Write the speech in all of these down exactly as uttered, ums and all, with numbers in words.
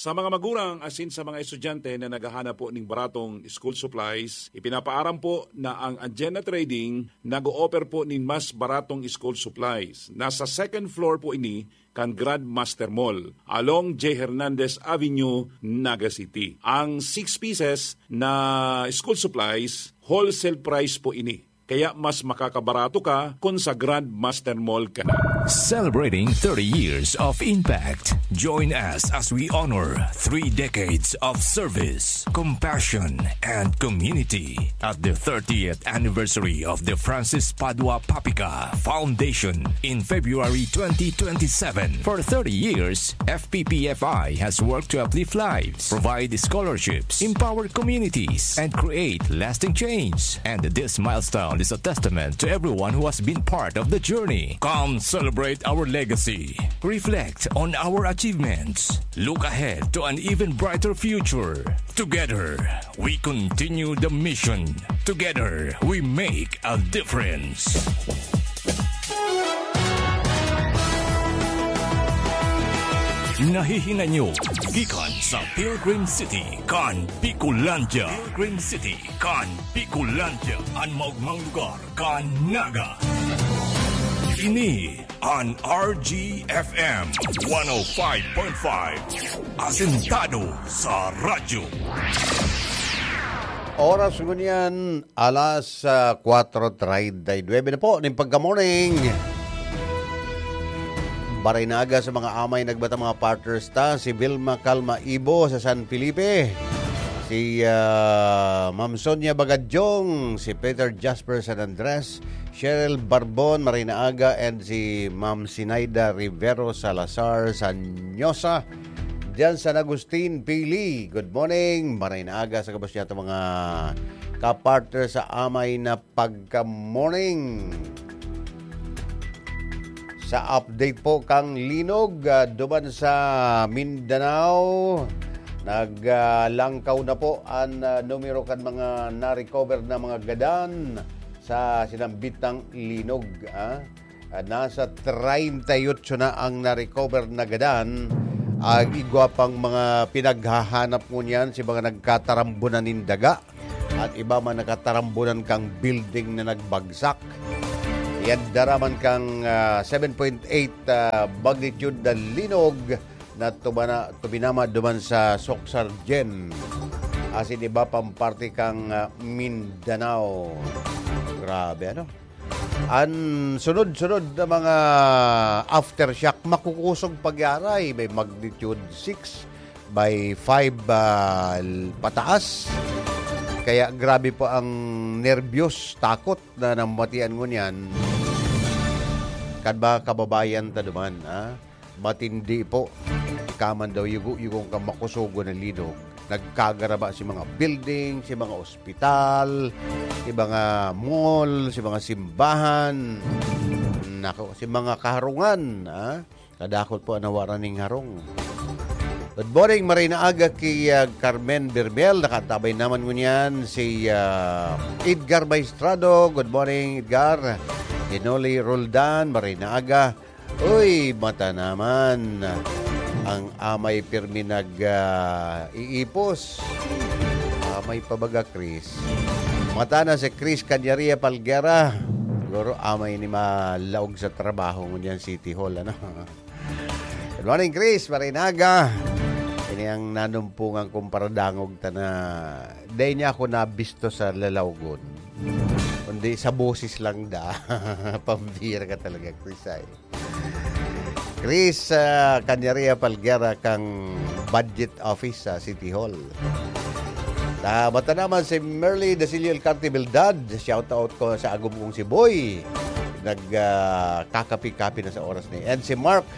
Sa mga magurang asin sa mga estudyante na naghahanap po ning baratong school supplies, ipinapaaram po na ang Anjena Trading nag-o-offer po nin mas baratong school supplies. Nasa second floor po ini kan Grandmaster Mall, along J Hernandez Avenue, Naga City. Ang six pieces na school supplies, wholesale price po ini. Kaya mas makakabarato ka kung sa Grandmaster Mall ka na. Celebrating thirty years of impact. Join us as we honor three decades of service, compassion, and community at the thirtieth anniversary of the Francis Padua Papica Foundation in February twenty twenty-seven. For thirty years, F P P F I has worked to uplift lives, provide scholarships, empower communities, and create lasting change. And this milestone is a testament to everyone who has been part of the journey. Come celebrate our legacy. Reflect on our achievements. Look ahead to an even brighter future. Together, we continue the mission. Together, we make a difference. Nahihinay nyo gikan sa Pilgrim City kan Bicolandia. Pilgrim City kan Bicolandia, an maogmang lugar kan Naga. Ini an R G F M one oh five point five, asentado sa radyo. Oras ngunyan, alas ah, kwatro treinta y nuebe na po ning pagka-morning. Baray na aga sa mga amay nagbatang mga partners ta, si Vilma Calma Ibo sa San Felipe, si ah, Ma'am Sonia Bagadyong, si Peter Jasper San Andres, Cheryl Barbon, maray na aga, and si Ma'am Sinaida Rivero Salazar Sanyosa, diyan sa Agustin Pili. Good morning, maray na aga sa gabos niya mga kapartner sa amay na pagka-morning. Sa update po kang linog ah, duman sa Mindanao, naglangkaw na po an ah, numero kan mga na-recover na mga gadan sa sinambitang linog. Ah. Ah, nasa treinta y ocho na ang na-recover na gadan. Ang igwa pang mga pinaghahanap ngunyan si mga nagkatarambunan nin daga at iba man nakatarambunan kang building na nagbagsak. Yan daraman kang ah, seven point eight ah, magnitude na linog na tubana, tubinama duman sa Soksargen asin iba pang parte kang ah, Mindanao. Grabe, ano? An sunod-sunod na mga aftershock, makukusog pagyaray, may magnitude six by five ah, pataas. Kaya grabe po ang nerbyos, takot na namatian ngunyan kan mga kababayan ta duman. Ah. Matindi po. Kaman daw yugo-yugong kan makusogon na linog. Nagkagaraba si mga building, si mga ospital, si mga mall, si mga simbahan. Nako, si mga kaharungan, ah. Kadakot po ang nawaran ning harong. Good morning, maray na aga ki ah, Carmen Bermel. Nakatabay naman ngunyan si ah, Edgar Maestrado. Good morning, Edgar. Hinoli Roldan, maray na aga. Uy, mata naman. Ang amay pirmi nag ah, iipos. Amay pa baga, Chris. Mata na si Chris Canyaria Palguera. Siguro amay ni malaog sa trabaho ngunyan City Hall, ano? Good morning, Chris. Marinaga. Ini ang nanumpungan kong paradangog ta na dai niya ako nabisto sa lalawgon. Kundi sa boses lang da. Pambira ka talaga, Chris, ay. Chris ah, Canyaria Palguera kang Budget Office sa City Hall. Tabata naman si Merly Dasilio Alcarte Bildad. Shout out ko sa agom kong si Boy. Nag ah, kakapi-kapi na sa oras ni. And si Mark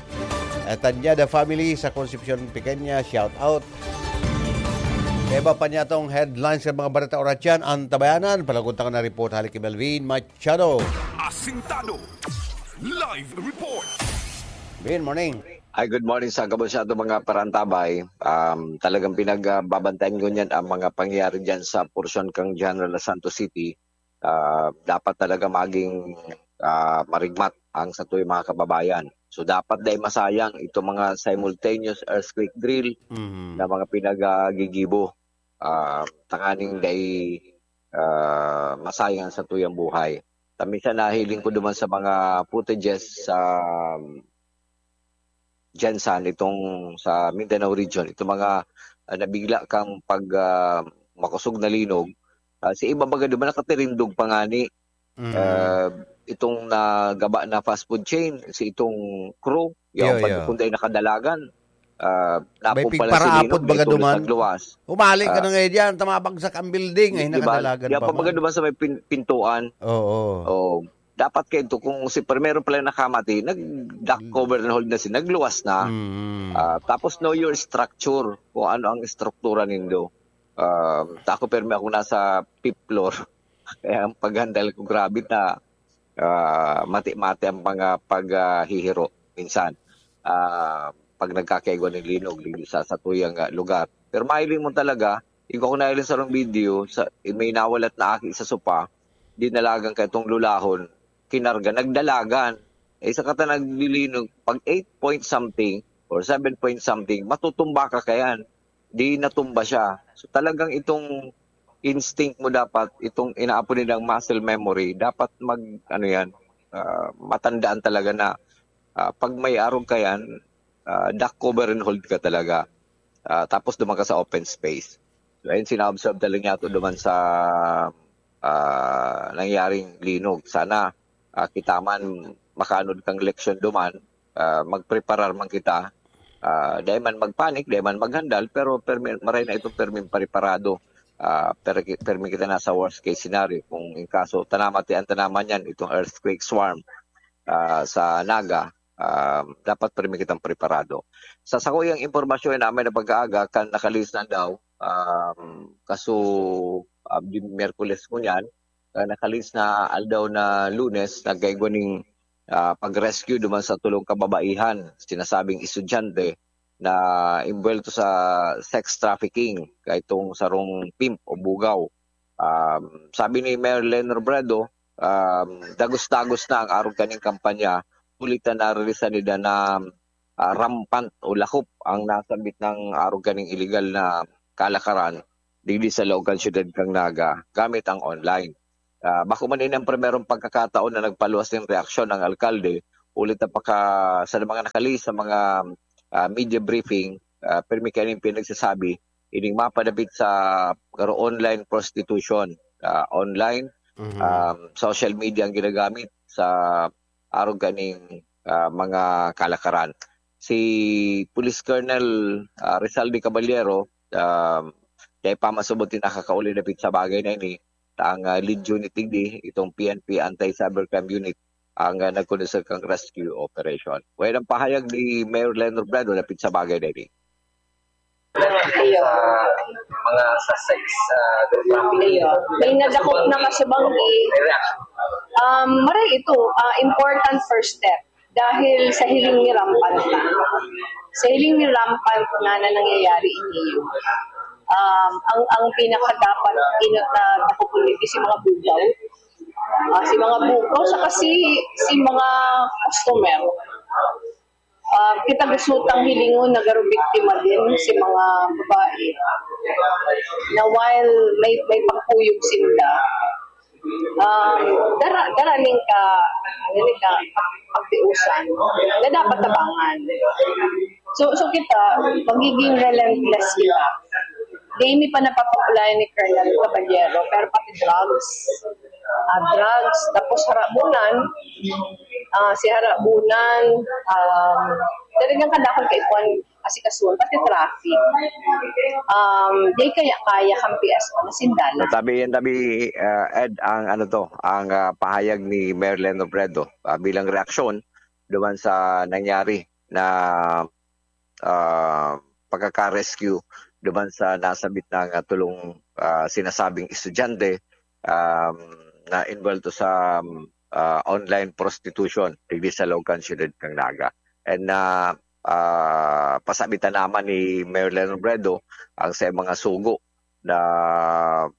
eh, Tanyada family sa Concepcion Pequeña, shout out. Iba pa niya tong headlines sa mga bareta oratyan, ang tabayanan. Palagunta ko na report halik kay Melvin Machado. Asintado. Live report. Good morning. Ay, good morning sa gabos sa ato mga parantabay. Um, talagang pinagbabantayan ko niyan ang mga pangyayari dyan sa porsyon kang General Santos City. Ah, dapat talaga maging ah, marigmat ang sa mga kababayan. So, dapat dai masayang itong mga simultaneous earthquake drill Mhm. na mga pinagagigibo. Ah, tanganing dai, ah, masayang sa tuyang buhay. Ta minsan nahiling ko duman sa mga footages sa Gensan, itong sa Mindanao region, itong mga, ah, nabigla kang pag, ah, makosog na linog. Ah, si iba baga duman nakatirindog pa ngani. Mm. Ah, itong nagaba na fast food chain, si itong crew, Iyo, yaon pa iyo. Kundi ay nakadalagan. Ah, May napon pala si pigparaapod Linog, baga naitulog duman. sa luwas. Umali ka Ah, na ngayon dyan, tama bag sa kambuilding, ay Di ba? nakadalagan Yan pa pa baga man. Duman sa may pin- pintuan. Oo. Oh, dapat kayo to, kung si primero pala nakamati, nag-duck cover and hold na siya, nagluwas na. Mm. Ah, tapos know your structure, kung ano ang estruktura nindo. Ah, ta ako, permi ako nasa fifth floor. Kaya ang paghandle ko, grabe na, ah, mati-mati ang mga paghihiro minsan. Ah, pag nagkakaigwa ng linog, linog sa satuyang, ah, lugar. Pero mahiling mo talaga, yung ako nahiling sa rong video, sa, may nawalat na aki sa sopa, dinalagan ka itong lulahon, kinarga, nagdalagan. Eh, sa kata naglilinog, pag eight point something or seven point something, matutumba ka kayan. Di natumba siya. So, talagang itong instinct mo dapat, itong inaapo nilang muscle memory, dapat mag, ano yan, ah, matandaan talaga na, ah, pag may arog ka yan, ah, duck cover and hold ka talaga. Ah, tapos duman ka sa open space. So, ayun, sina-observe talaga niya ito duman sa, ah, nangyaring linog. Sana, ah, kita man makaanod kang leksyon duman, ah, magpreparar man kita. Ah, dai man magpanik, dai man maghandal, pero permi, maray na itong perming preparado. Ah, per, permi kita na sa worst case scenario. Kung in kaso, tanaman ti ang tanaman yan, itong earthquake swarm, ah, sa Naga, ah, dapat permi kitang preparado. Sa sakuyang impormasyon na may napag-aaga, kan nakalihis na daw, um, kaso, ah, di Miyerkules ko niyan, ah, nakalihis na aldaw na Lunes, nagkaigwa ning, ah, pag-rescue duman sa tulong kababaihan, sinasabing estudyante na imbuwelto sa sex trafficking, kaitong sarong pimp o bugaw. Um, sabi ni Mayor Len Robredo, um, dagos-dagos na ang arog kaning kampanya, huli ta naririsan nila na, ah, rampant o lakop ang nasambit ng arog kaning iligal na kalakaran digdi sa laog kan siyudad kan Naga gamit ang online. Ah, bako man ini ang primerong pagkakataon na nagpaluwas nin reaksyon ang alkalde, huli ta paka, sa mga nakali sa mga, ah, media briefing, ah, pirmi kayo nin pinagsasabi, ining mapadapit sa karo online prostitution, ah, online, Mhm. um, social media ang ginagamit sa arog kaning, ah, mga kalakaran. Si Police Colonel, ah, Rizal de Caballero, um, dai pa masubot yung nakakauli dapit sa bagay na ini, ta ang, ah, lead unit digdi, itong P N P Anti-Cybercrime Unit, ang, ah, nagkondusir kang rescue operation. Well, ang pahayag ni Mayor Len Robredo dapit sa bagay na ini. Iyo. Mga suspects sa drug trafficking. Iyo. May nadakop na kasubanggi. May reaction. Um, maray ito, ah, important first step. Dahil sa hiling ni rampant na. Sa hiling ni rampant na na nangyayari ini. Um, ang, ang pinakadapat inot na dakopon dito si mga bugaw. Ah, si mga bugaw, saka si, si mga customer. Ah, kita gusto tang hilingon na garo biktima din si mga babae na while may, may pagkuyog sinda, um, dara, dara ning ka, ano ni ka, pagtiusan na dapat tabangan. So, so kita, magiging relentless kita. Di mi pa napapakulayan ni Colonel Caballero, pero pati drugs, ah, drugs, tapos harabunan, ah, si harabunan, um, talagang kadakol kay Juan asikasuhan, pati traffic. Um, di kaya kaya kang P S O na sindalan. Tabi yan, tabi, ah, Ed, ang ano to, ang, ah, pahayag ni Mayor Len Robredo, ah, bilang reaksyon duman sa nangyari na, ah, pagkaka-rescue duman sa nasabit na nga tulong, ah, sinasabing estudyante, um, na involved sa, ah, online prostitution digdi sa laog kan siyudad kan Naga. And, ah, ah, pasabitan naman ni Mayor Len Robredo ang sa mga sugo na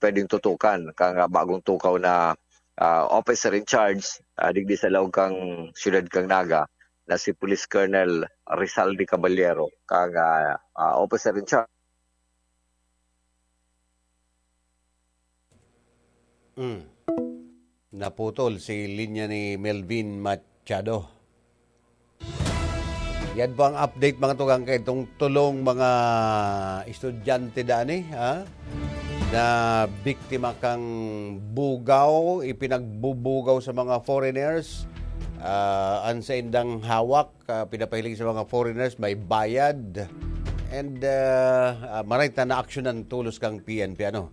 pwedeng tutukan kang bagong tukaw na, ah, officer in charge, ah, digdi sa laog kang siyudad kang Naga, na si Police Colonel Rizal de Caballero, kang, ah, ah, officer in charge. Mm. Naputol si linya ni Melvin Machado. Yan po ang update, mga tugang, kay itong tulong mga estudyante dani, ha? Na biktima kang bugaw, ipinagbubugaw sa mga foreigners, ah, ang saindang hawak, ah, pinapahiling sa mga foreigners, may bayad. And, ah, ah, maray ta naaksyonan tolos kang P N P, ano,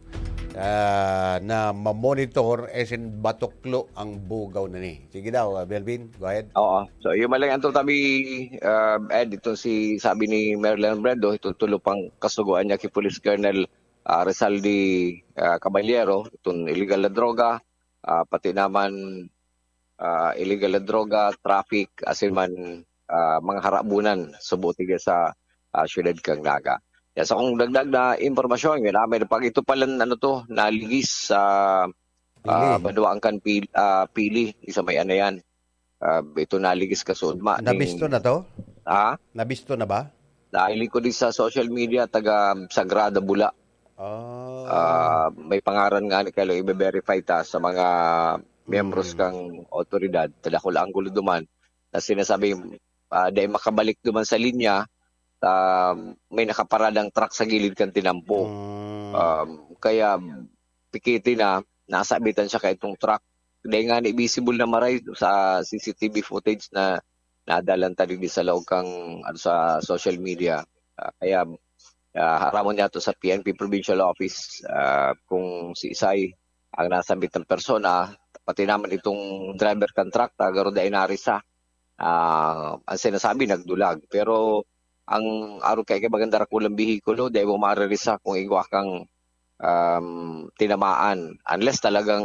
ah, na mamonitor, eh, sin batuklo ang bugaw na ni. Sige daw, ah, Melvin, go ahead. Oo. So, yung maling anto tabi, ah, Ed, itong si, sabi ni Mayor Leon Bredo, itong tulo pang kasugoan niya kay Police Colonel, ah, Rizal de, ah, Caballero, itong illegal na droga, ah, pati naman, ah, illegal na droga, traffic, asin man, ah, mga harabunan, subo tigya sa, ah, siyudad kan Naga. Yan, sa kong dagdag na impormasyon, yun, ah, may pag ito palan, ano to, naligis sa, Pili. ah, Banwaan kan Pil-, ah, Pili, isa may ano yan. Ah, ito naligis kasudma. Nabisto na to? Ha? Nabisto na ba? Nahiling ko din sa social media, taga Sagrada, Bula. Ah. Ah, may pangaran nga ni Kalo, ibe-verify ta sa mga miyembros Mm. kang otoridad, sa dakul anggulo duman, na sinasabing, ah, dahil makabalik duman sa linya, ah, may nakaparadang truck sa gilid kan tinampo. Mm. Um, kaya pikiti na, nasabitan siya kaitong truck. Dahil nga ni visible na maray sa C C T V footage na nadalan ta digdi sa laog kang, ano, sa social media. Ah, kaya, ah, haramon niya to sa P N P Provincial Office, ah, kung si Isay ang nasambit ng persona, pati naman itong driver kan truck, ta garo dai narisa. Ah, ang sinasabi, nagdulag. Pero ang arog kay kay maganda ra kulang bihikulo, dai mo maririsa kung igwa kang, um, tinamaan. Unless talagang,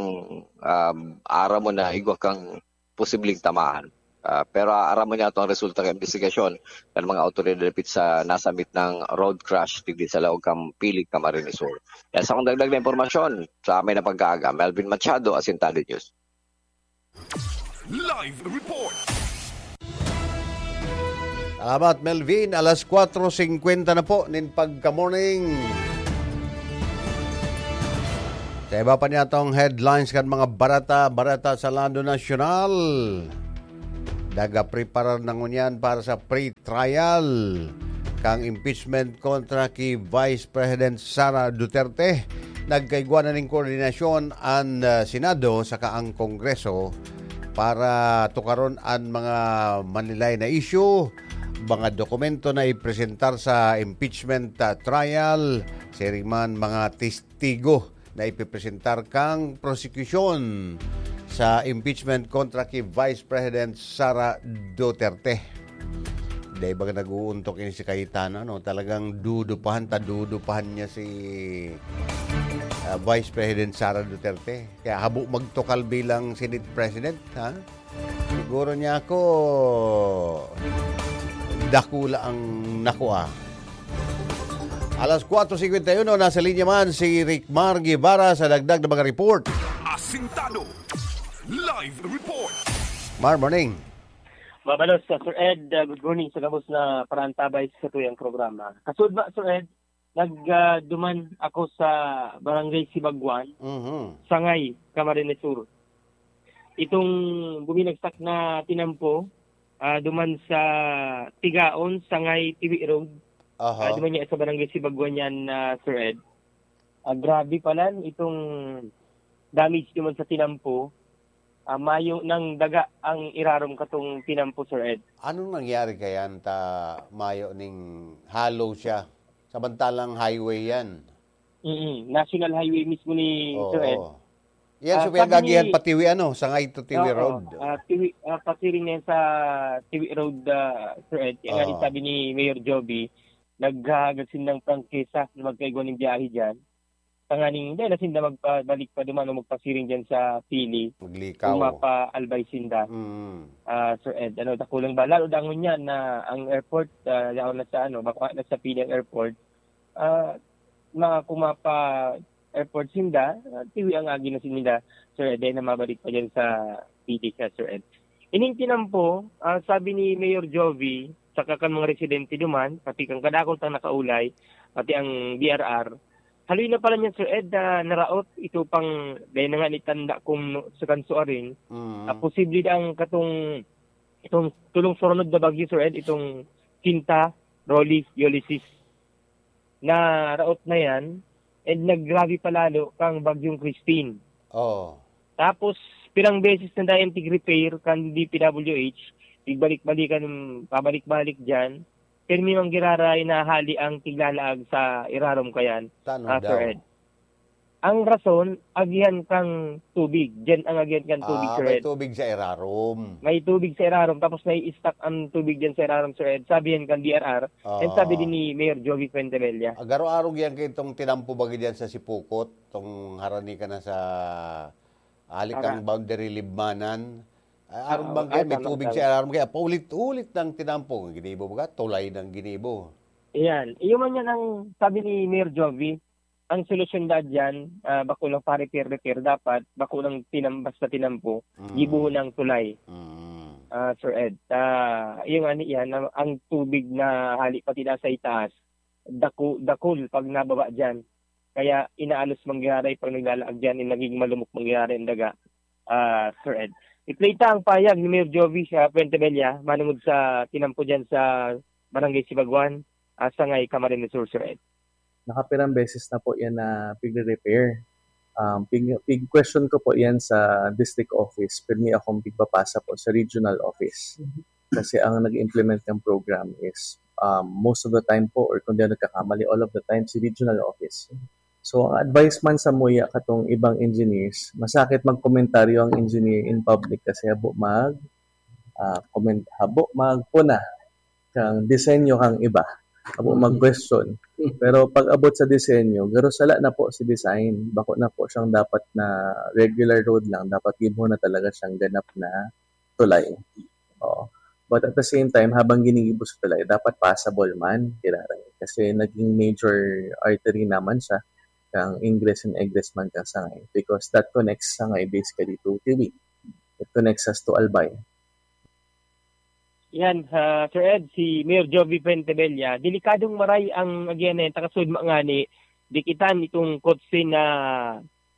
um, aram mo na igwa kang posibleng tamaan. Ah, pero aram mo niya to ang resulta ng investigasyon ng mga awtoridad dapit sa nasambit na road crash digdi sa laog kan Pili, Camarines Sur. Yan sa akong dagdag na impormasyon sa amay na pagkaaga. Melvin Machado, Asintado News. Live report. Salamat, Melvin. Alas kwatro singkwenta na po nin pagka-morning. Sa iba pa niyatong headlines kan mga barata, barata sa lado nasyonal. Nagapreparar na ngunyan para sa pre-trial kang impeachment kontra ki Vice President Sara Duterte. Nagkaigwa na nin koordinasyon an, ah, Senado saka ang Kongreso para tukaron an mga manilay na isyu, mga dokumento na ipresentar sa impeachment, ah, trial, siring man mga testigo na ipipresentar kang prosekusyon sa impeachment kontra ki Vice President Sara Duterte. Dai ba nag-uuntok ini si Cayetano, ano? Talagang dudupahan ta, dudupahan niya si, ah, Vice President Sara Duterte. Kaya habo magtukal bilang Senate President, ha? Siguro niya ako, dakula ang nakua. Alas kwatro singkwenta y uno, nasa linya man si Rickmar Guevara sa dagdag na mga report. Asintado. Live report. Mar, morning. Mabalos sa Sir Ed, uh, good morning sa gabos na parantabay sa tuyang programa. Kasudma, Sir Ed, nag, ah, duman ako sa Barangay Sibagwan, Mhm. Sangay, Camarines Sur. Itong buminagsak na tinampo, ah, duman sa Tigaon, Sangay, Tiwi Road. Aha. Ah, duman niya sa Barangay Sibagwan yan, ah, Sir Ed. Ah, grabe pala itong damage duman sa tinampo. Ah, mayo nang daga ang irarom katong tinampo, Sir Ed. Anong nangyari kaya ta mayo ning hollow siya? Samantalang highway yan. Mm, National Highway mismo ni Oo. Sir Ed. Yan, Ah, so sabi pinagagihan ni pa Tiwi, ano, Sangay to Tiwi Oo, Road. ah, Tiwi, ah, pasiring na yan sa Tiwi Road, ah, Sir Ed. Yan nga Oo. rin sabi ni Mayor Joby, naghahagad sindang prangkisa na magkaigwa ng biyahe dyan. Tanganing, hindi na sinda magpabalik pa duman o magpasiring dyan sa Pili. Maglikaw. Kung mapaalbay sinda. Mm. Ah, Sir Ed, ano, dakulang ba? Lalo dangon yan na ang airport, ah, yaon na sa, ano, baka na sa Pili ang airport. Ah, ma-, kung mapa-airport sinda, ah, tiwi ang agi na sinda, Sir Ed, na mabalik pa dyan sa Pili siya, Sir Ed. Ining tinampo, ah, sabi ni Mayor Jovie, saka kan mga residente duman, pati kan kadakul tang nakaulay, pati ang D R R, haloy na pala niyan, Sir Ed, na naraot ito pang, dahil na nga nitanda kung no, sa kansuarin, Mm. ah, posible na ang katong, itong tulong surunod na bagyo, Sir Ed, itong Quinta, Rolly, Ulysses. Naraot na yan, and naggrabe pa lalo kang Bagyong Christine. Oh. Tapos, pirang beses na dayan tig-repair kan D P W H, tigbalik-balikan, pabalik-balik dyan, pirmi mang giraray na hali ang tiglalaag sa irarom kayan, Tano ah, Sir daw? Ed. Ang rason, agihan kang tubig. Diyan ang agihan kang tubig, Ah, Sir may Ed. tubig sa irarom. May tubig sa irarom, tapos may stock ang tubig diyan sa irarom, Sir Ed. Sabi yan kang D R R, and sabi Ah. din ni Mayor Jovie Fuentebella. Agaro-arog yan kay itong tinampo bagi diyan sa Sipukot, itong harani ka na sa halik Tama. kang boundary libmanan. Ah, arog Oo, bang ay, kaya may tama, tubig tama. sa irarom, kaya paulit-ulit ng tinampo. Ginibo baga, tulay ng ginibo. Iyan. Iyo man yan ang sabi ni Mayor Jovie. Ang solusyon da diyan, ah, bako lang pa-repair-repair, dapat bako lang tinam-, basta tinampo, Mm. gibohon ang tulay. Mm. Ah, Sir Ed, ah, iyo nga ni iyan, ang, ang tubig na hali pati na sa itaas, daku-, dakul pag nababa diyan. Kaya inaalos man giraray pag naglalaag diyan, eh, nagiging malumok man giraray ang daga, ah, Sir Ed. I-play ta ang pahayag ni Mayor Jovie sa Fuentebella, manungod sa tinampo diyan sa Barangay Sibaguan, ah, Sangay, Camarines Sur, Sir Ed. Nakapirang beses na po yan na pigre-repair. Um, pig-, pig-question ko po yan sa district office. Pirmi akong pigpapasa po sa regional office. Mhm. Kasi ang nag-implement ng program is, um, most of the time po, or kung di ako nagkakamali, all of the time, si regional office. So, ang advice man sa muya katong ibang engineers, masakit magkomentaryo ang engineer in public kasi habo mag, ah, comment, habo magpuna kang disenyo kang iba. Habo Mm. mag-question. Pero pag abot sa disenyo, garo sala na po si design. Bako na po siyang dapat na regular road lang. Dapat gibo na talaga siyang ganap na tulay. Oo. But at the same time, habang ginigibo sa tulay, dapat passable man, giraray. Kasi naging major artery naman siya, kang ingress and egress man kang Sangay. Because that connects Sangay basically to Tiwi. It connects us to Albay. Yan, ah, Sir Ed, si Mayor Jovie Fuentebella, delikadong maray ang agihan na yan, takasud ngani, dikitan itong kotse na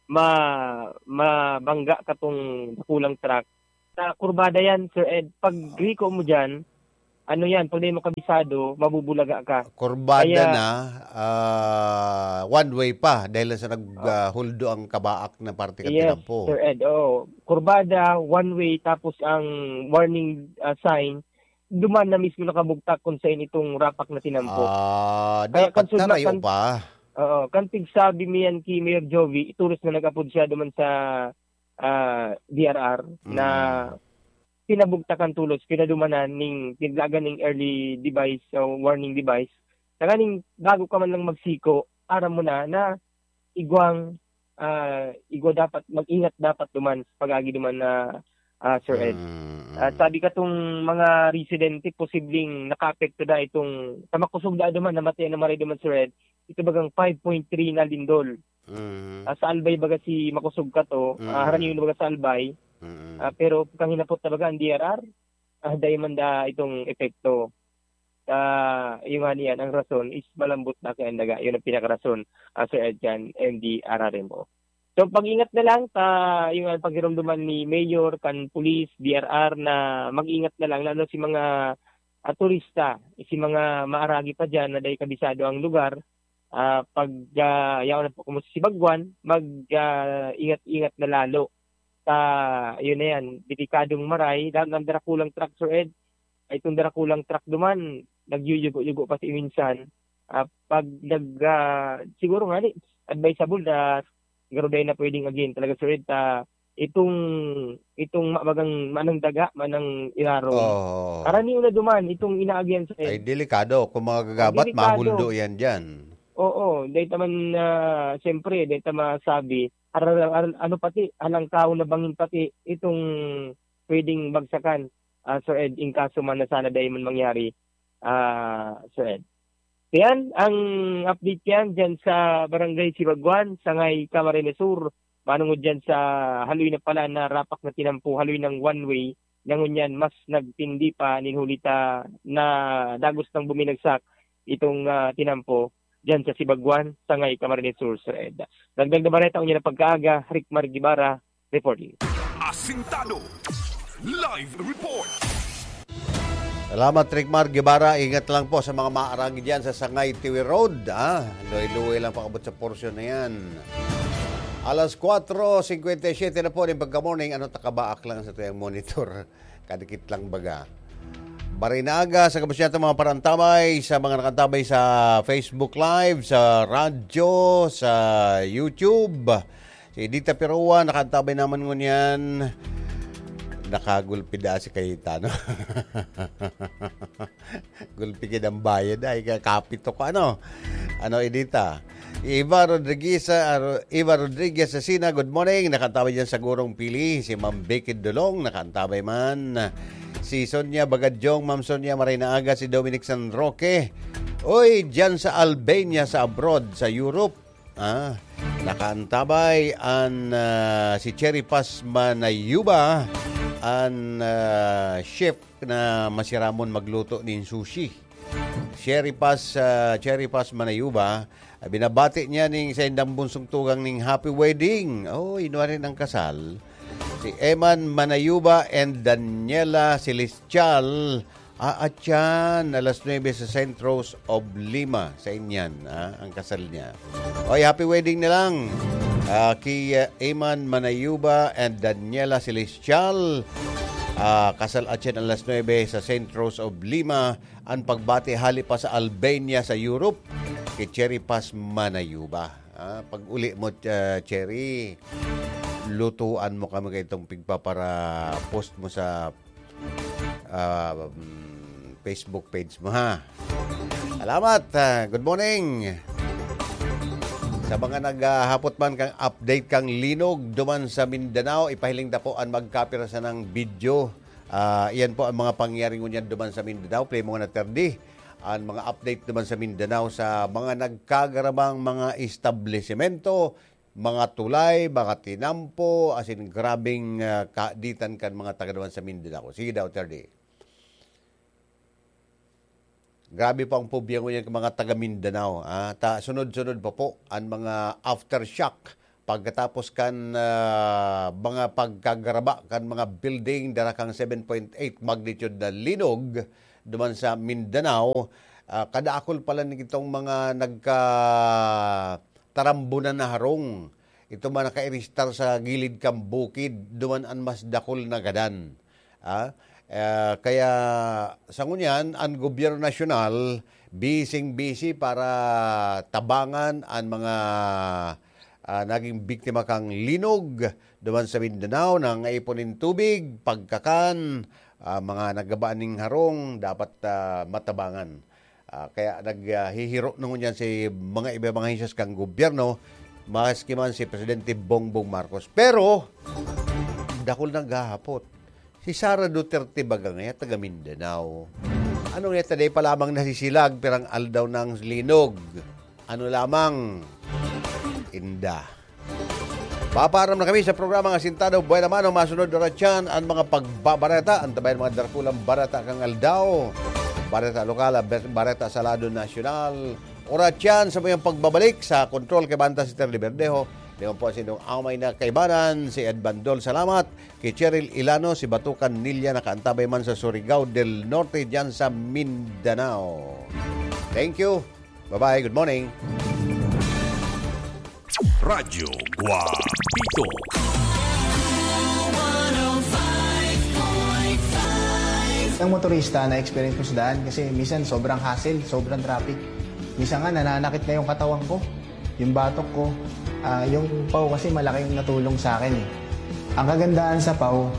ma-, mabangga katong dakulang truck. Sa kurbada yan, Sir Ed. Pag riko mo dyan, ano yan, pag di mo kabisado, mabubulaga ka. Kurbada Kaya na, ah, one way pa dahil sa nag, Oh. ah, huldo ang kabaak na parte kan Yes, tinampo. Sir Ed. Oo. Kurbada, one way, tapos ang warning, ah, sign, duman na mismo nakabugtak kung saan itong rapak na tinampo. Ah, Kaya dapat kan sudma-, narayo kan pa. Oo, kan pigsabi mi yan ki Mayor Jovie, itoros na nag-apod siya duman sa, ah, D R R na Mm. pinabugtakan tolos, pinadumanan ning, tiglagan ning early device o warning device. Tanganing bago ka man lang magsiko, aram mo na, na igwang, ah, igwa dapat, mag-ingat dapat duman sa pag-agi duman na, ah, Sir Ed. Mm, Ah, mm. sabi katong mga residente, posibleng nakaapekto na itong, sa makosog na duman, namatay na maray duman, Sir Ed. Ito bagang five point three na lindol. Mm. Ah, sa Albay baga si makosog ka to, ah, Mm. haraniyon baga sa Albay. Mm. Ah, pero kang hinapot na baga ang D R R, ah, dai man da itong epekto. Ah, iyo nga niyan, ang rason is malambot na kaya ang daga. Yun ang pinakarason, ah, Sir Ed, kan M D R R M O. So, pag-ingat na lang ta, yung, ah, pagirumduman ni Mayor, kan pulis, D R R, na mag-ingat na lang, lalo si mga, ah, turista, si mga maaragi pa dyan na dai kabisado ang lugar, ah, pag, ah, yaon na po kamo sa Sibagwan, mag, ah, ingat-ingat na lalo. Ta, yun na yan, delikadong maray, lalo ng darakulang truck, Sir Ed. Ay, itong darakulang truck duman, nagyuyugo-yugo pa si minsan. Ah, pag nag, ah, siguro nga ni, advisable na garo dai na pwedeng again talaga, Sir Ed, ta itong, itong ma-, bagang manang daga, manang iraro. Oo. Karaniwan na duman, itong inaagihan, Sir Ed. Ay, delikado. Kung mga gagabat, Delikado. mahuldo yan dyan. Oo, dahil ta man, ah, siyempre, dahil ta masabi, ar-, ar-, ano pati, halangkaw na bangin pati, itong pwedeng bagsakan, ah, Sir Ed, in kaso man na sana dai man mangyari, ah, Sir Ed. Yan ang update yan dyan sa Barangay Sibagwan, Sangay, Camarines Sur. Manungod dyan sa haloy na pala na rapak na tinampo, haloy ng one way, na ngunyan mas nagtindi pa nin huli ta na dagos nang buminagsak itong, ah, tinampo diyan sa Sibagwan, Sangay, Camarines Sur, Sir Ed. Dagdag na bareta, ngunyan na pagkaaga, Rick Mar Guevara, reporting. Asintado. Live report. Salamat, Rick Mar Guevara. Ingat lang po sa mga maaragi dyan sa Sangay Tiwi Road, ah. Luwi-luwi lang pakabot sa porsyon na yan. Alas kwatro singkwenta y siyete na po ng pagka-morning. Ano, takabaak lang sa tuyang monitor. Kadikit lang baga. Maray na aga sa gabos niya itong mga parantabay, sa mga nakantabay sa Facebook Live, sa radyo, sa YouTube. Si Edita Pirua, nakantabay naman ngunyan. Nakagulpi da si Cayetano. Gulpi gid ang bayad, ay, ka-, kapito ko, ano? Ano, Edita? Eva Rodriguez, ah, Ro-, Eva Rodriguez Asina, good morning. Nakantabay dyan sa Gurong Pili. Si Ma'am Becky Dolong, nakantabay man. Si Sonia Bagadyong, Ma'am Sonia, maray na aga. Si Dominic San Roque. Uy, dyan sa Albania, sa abroad, sa Europe. Ah, nakaantabay an, ah, si Cherry Paz Manayuba, an, ah, chef na masiramon magluto nin sushi. Cherry Paz, ah, Cherry Paz Manayuba, ah, binabati niya ning saindang bunsong tugang ning happy wedding. Oh, inwari ng kasal. Si Eman Manayuba and Daniela Celestial. Ah, atyan, alas nuebe sa Saint Rose of Lima, sa Inyan, ah, ang kasal niya. Oy, happy wedding na lang. Ah, ki, ah, Eman Manayuba and Daniela Celestial. Ah, kasal atyan alas nuebe sa Saint Rose of Lima. Ang pagbati hali pa sa Albania, sa Europe, kay Cherry Paz Manayuba. Ah, pag uli mo, ah, Cherry, lutuan mo kami kay itong pigpapara-post mo sa, ah, mm, Facebook page mo, ha. Salamat. Ah, good morning. Sa mga naghahapot man kang update kang linog duman sa Mindanao, ipahiling ta po an magkapira sanang video. Ah, iyan po ang mga pangyayari ngunyan duman sa Mindanao. Play mo nga na, Terdi. Ang mga update naman sa Mindanao, sa mga nagkagarabang mga establisemento, mga tulay, mga tinampo, asin grabing, ah, kaaditan kan mga taga naman sa Mindanao. Sige daw, Terdi. Grabe po ang pobya ngunyan kan mga taga Mindanao, ah. Ta, sunod-sunod pa po ang mga aftershock pagkatapos kan, ah, mga pagkagaraba kan mga building, dara kang seven point eight magnitude na linog duman sa Mindanao. Ah, kadakol pala nitong mga nagkatarambunan na harong. Ito man nakairistar sa gilid kan bukid, duman an mas dakul na gadan. Ah, eh, kaya sa ngunyan, ang gobyerno nasyonal, bising-bisi para tabangan ang mga, ah, naging biktima kang linog duman sa Mindanao, nangaipon nin tubig, pagkakan, ah, mga nagabaan ning harong, dapat, ah, matabangan. Ah, kaya nag, ah, hihiro na ngunyan si mga iba mga ahensyas kan gobyerno, maski man si Presidente Bongbong Marcos. Pero, dakul naghahapot. Si Sara Duterte baga ngaya taga Mindanao. Ano ngaya ta, dai pa lamang nasisilag, pirang aldaw nang linog. Ano lamang? Inda. Papaaram na kami sa programang Asintado Buena Mano. Masunod na rin dyan ang mga pagbabareta. Antabayan mga darakulang bareta kang aldaw. Bareta lokal, bar-, bareta sa lado nasyonal. Oras yan sa mayong pagbabalik sa kontrol kay Banta si Terly Verdejo. Di man po sa inyong amay na kaibanan, si Ed Bandol. Salamat. Kay Cheryl Ilano, si Batukan Nilya, nakaantabay man sa Surigao del Norte, dyan sa Mindanao. Thank you. Bye-bye. Good morning. Radyo Guapito. Ang motorista na experience ko sa daan kasi minsan sobrang hassle, sobrang traffic. Minsan nga nananakit na yung katawan ko, yung batok ko. Ah, yung paw kasi malaking natulong sa akin eh. Ang kagandahan sa paw,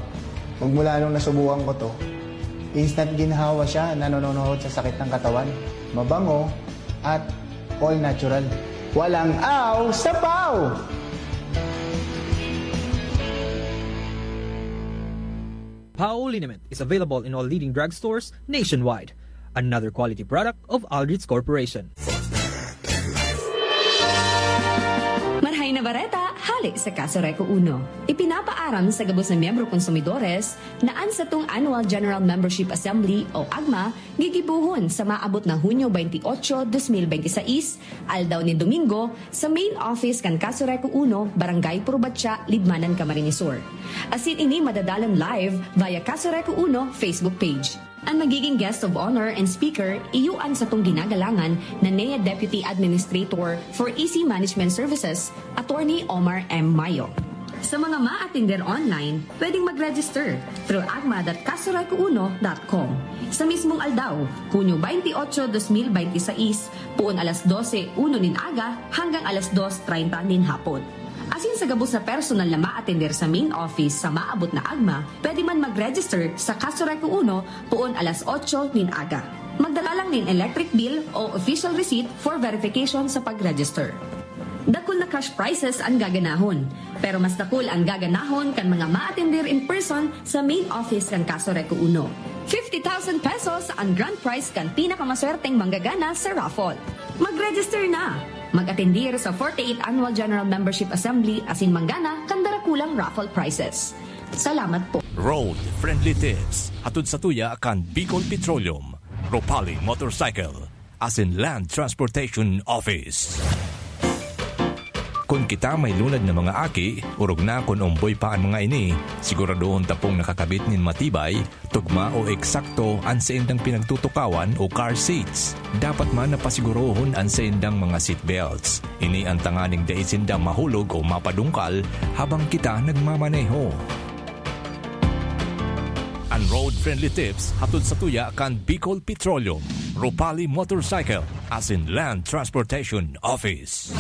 magmula nung nasubukan ko to, instant ginhawa siya, nanononohod sa sakit ng katawan. Mabango at all natural. Walang aw sa paw! Pao liniment is available in all leading drugstores nationwide. Another quality product of Aldrich Corporation. Marhay na bareta, sa Kaso Reco Uno. Ipinapaaram sa gabos na miyembro konsumidores na an satong Annual General Membership Assembly o AGMA gigibohon sa maabot na Hunyo twenty-eight, dos mil benti sais, aldaw nin Domingo, sa main office kan Kaso Reco Uno, Barangay Purbatya, Libmanan, Camarines Sur. Asin ini madadalon live via Kaso Reco Uno Facebook page. An magiging guest of honor and speaker, iyo an satong ginagalangan na N E A Deputy Administrator for E C Management Services, Attorney Omar M. Mayo. Sa mga maatender online, pwedeng mag-register through agma dot kasoreco uno dot com. Sa mismong aldaw, Hunyo twenty-eight, dos mil benti sais, poon alas dose uno nin aga hanggang alas dos treinta nin hapon. Asin sa gabos na personal na maatender sa main office sa maabot na agma, pwede man mag-register sa Kaso Reco Uno poon alas otso nin aga. Magdala lang nin electric bill o official receipt for verification sa pag-register. Dakul na cash prizes an gaganahon, pero mas dakul an gaganahon kan mga maatender in person sa main office kan Kaso Reco Uno. Fifty thousand pesos an grand prize kan pinakamaswerteng manggagana sa raffle. Mag-register na! Mag-atendir sa forty-eighth Annual General Membership Assembly asin manggana kan darakulang raffle prizes. Salamat po. Road Friendly Tips, hatod sa tuya kan Bicol Petroleum, Ropali Motorcycle, asin Land Transportation Office. Kun kita may lunad na mga aki, orog na kun omboy pa an mga ini, siguradohon ta pong nakakabit nin matibay, tugma o eksakto an saindang pinagtutukawan o car seats. Dapat man na pasigurohon an saindang mga seat belts. Ini an tanganing dai sinda mahulog o mapadungkal habang kita nagmamaneho. An Road Friendly Tips hatod sa tuya kan Bicol Petroleum, Ropali Motorcycle, asin Land Transportation Office.